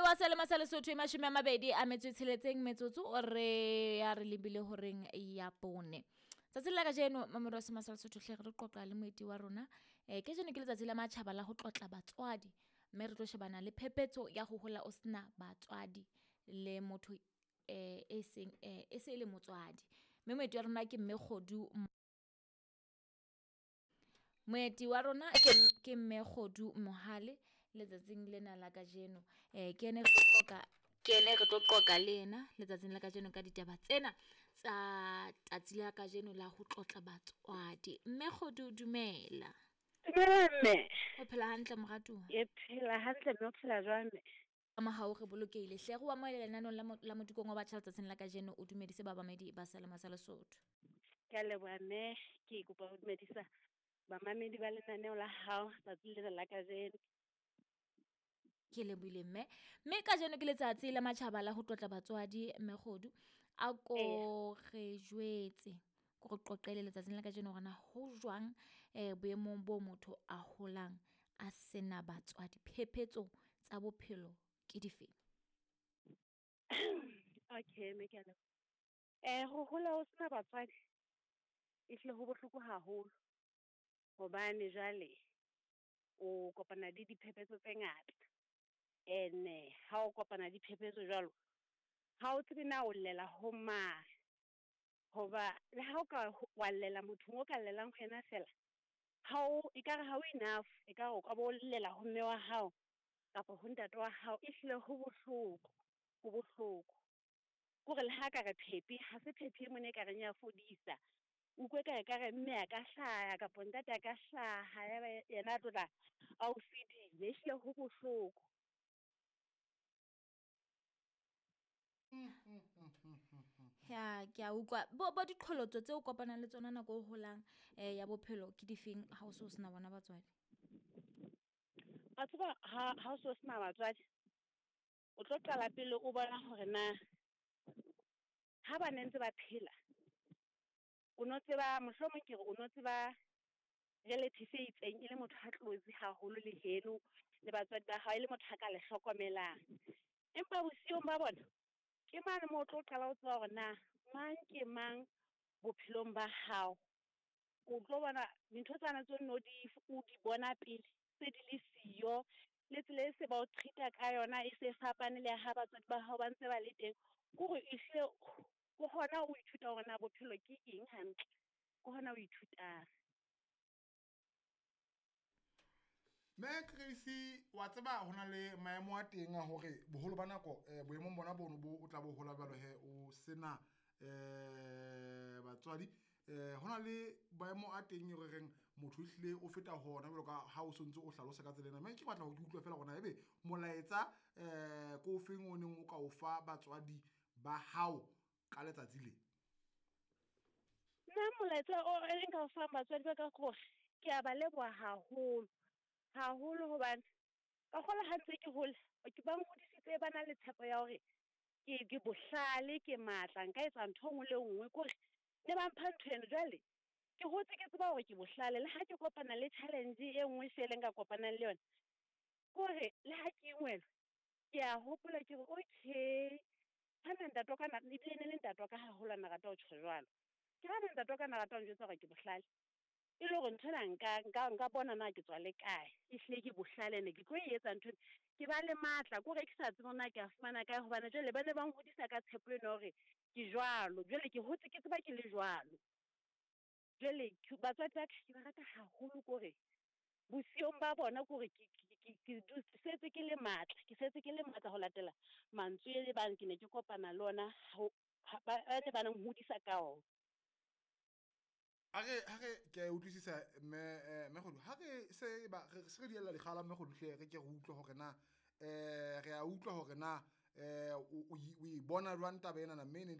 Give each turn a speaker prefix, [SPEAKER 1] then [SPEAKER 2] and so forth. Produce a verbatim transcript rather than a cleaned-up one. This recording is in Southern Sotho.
[SPEAKER 1] wa Selema sa Lesotho e mashome a mabedi a metso e tsheletseng metsotso o re ya re lebile horeng ya bone. Tsatsing la kajeno mamedi wa Selema sa Lesotho hle re tlo qoqa le moeti wa rona. Eh kajeno ke letsatsi la matjhaba la ho tlotla batswadi, mme re tlo shebana le phephetso ya ho hola o sena batswadi le motho eh e seng eh e se le motswadi. Mme moeti wa rona ke mme Kgodu. Moeti wa rona ke ke mme Kgodu Mohale letsatsing lena la kajeno. Eh ke ene re tlo qoqa ke ene re tlo qoqa le yena letsatsing la kajeno ka ditaba tsena tsa tsatsi la kajeno la ho tlotla batswadi. Mme Kgodu dumela.
[SPEAKER 2] Dumela mme.
[SPEAKER 1] O phela hantle moratuwa?
[SPEAKER 2] Ke phela hantle mme, o phela jwang mme?
[SPEAKER 1] Ka mohau re bolokehile. Hle re o amohele lenaneng la la Modikong wa Batjha letsatsing la kajeno, o dumedise bamamedi ba Selema sa Lesotho.
[SPEAKER 2] Ke a leboha mme, ke kopa ho dumedisa bamamedi ba lenaneo la hao tsatsing lena la kajeno.
[SPEAKER 1] Ke lebohile mme. Mme kajeno ke letsatsi la matjhaba la ho tlotla batswadi mme Kgodu. A ko re jwetse, ko re qoqele letsatsing la kajeno hore na ho jwang eh boemong bo motho a holang a sena batswadi, phephetso tsa bophelo ke dife?
[SPEAKER 2] Okay mme, ke a leboha. Eh ho hola ho sena batswadi ehlile ho bohloko haholo hobane jwale o kopana le diphephetso tse ngata. Ene ha o kopana le diphephetso jwalo, ha o tsebe na o llela ho mang. Hoba le ha o ka wa llela mothong o ka llelang ho yena fela, ha o ekare ha o enough, ekare o ka bo llela ho mme wa hao kapa ho ntate wa hao. Ehlile ho bohloko, ho bohloko. Kore le ha ka re phephi, ha se phephi e mona e ka reng ya fodisa. Utlwe ka ekare mme a ka hlaha kapa ntate a ka hlaha, ya ba yena a tlo tla a o fedile. Ehlile ho bohloko.
[SPEAKER 1] Ya ke a utlwa. Bo bo diqholotso tseo kopanang le tsona nako o holang eh ya bophelo ke difeng ha o so sena bona batswadi?
[SPEAKER 2] Wa tseba ha ha o so sena batswadi, o tlo qala pele o bona hore na ha ba ne ntse ba phela, o no tseba mohlomong ke re o no tseba relative e itseng e le motho a close haholo le heno le batswadi ba hao, e le motho a ka le hlokomelang. Empa bosiung ba bona ke mane moo o tlo qala ho tseba hore na mang ke mang bophelong ba hao. O tlo bona dintho tsane tseo no di o di bona pele se di le siyo, le tsela e se ba o treat-a ka yona e se fapane le ha batswadi ba hao ba ntse ba le teng. Kore ehlile ke hona o ithuta hore na bophelo ke eng hantle, ke hona o ithutang.
[SPEAKER 3] Mme Grace, wa tseba ho na le maemo a teng a hore boholo ba nako eh, boemong bona bono bo o tla bo hola jwalo he o sena eh batswadi, eh ho na le maemo a teng e re reng motho ehlile o feta hona jwalo ka ha o sontse o hlalosa ka tsela ena. Mme ke batla ho utlwa feela hore na ebe molaetsa eh ko ofeng o neng o ka o fa batswadi ba hao ka letsatsi le?
[SPEAKER 2] Nna molaetsa o e nka o fang batswadi ba ka ke hore ke a ba leboha haholo haholo, hobane ka kgola ha ntse ke hola ke ba nhodisitse ba na le tshepo ya hore ke ke bohlale, ke matla, nka etsa ntho e nngwe le e nngwe. Kore ne ba mpha ntho eno, jwale ke hotse ke tseba hore ke bohlale. Le ha ke kopana le challenge e nngwe fela e nka kopanang le yona, kore le ha ke ingwelwa ke a hopola ke re okay, hana ntate wa ka na ebile ne le ntate wa ka haholo a na rata ho tjho jwalo. Ke hana ntate wa ka na rata ho njwetsa hore ke bohlale, e le hore nthwena nka nka nka bona na ke tswa le kae, ehlile ke bohlale ene ke tlo e etsa nthwena. Ke ba le matla kore ke sa tsebe hore na ke a fumana kae, hobane jwale ba ne ba nhodisa ka tshepo eno hore ke jwalo. Jwale ke hotse ke tseba ke le jwalo. Jwale batswadi ba ka ke ba rata haholo, kore bosiung ba bona kore ke ke ke setse ke le matla, ke setse ke le matla ho latela mantswe e bang ke ne ke kopana le ona ho ba ne ba nhodisa ka ona.
[SPEAKER 3] A re ha re ke a utlwisisa mme mme Kgodu, ha re se ba re se re diella dikgala mme Kgodu hle re ke re utlwe hore na eh re a utlwa hore na eh o o e bona jwang taba ena na, mme e ne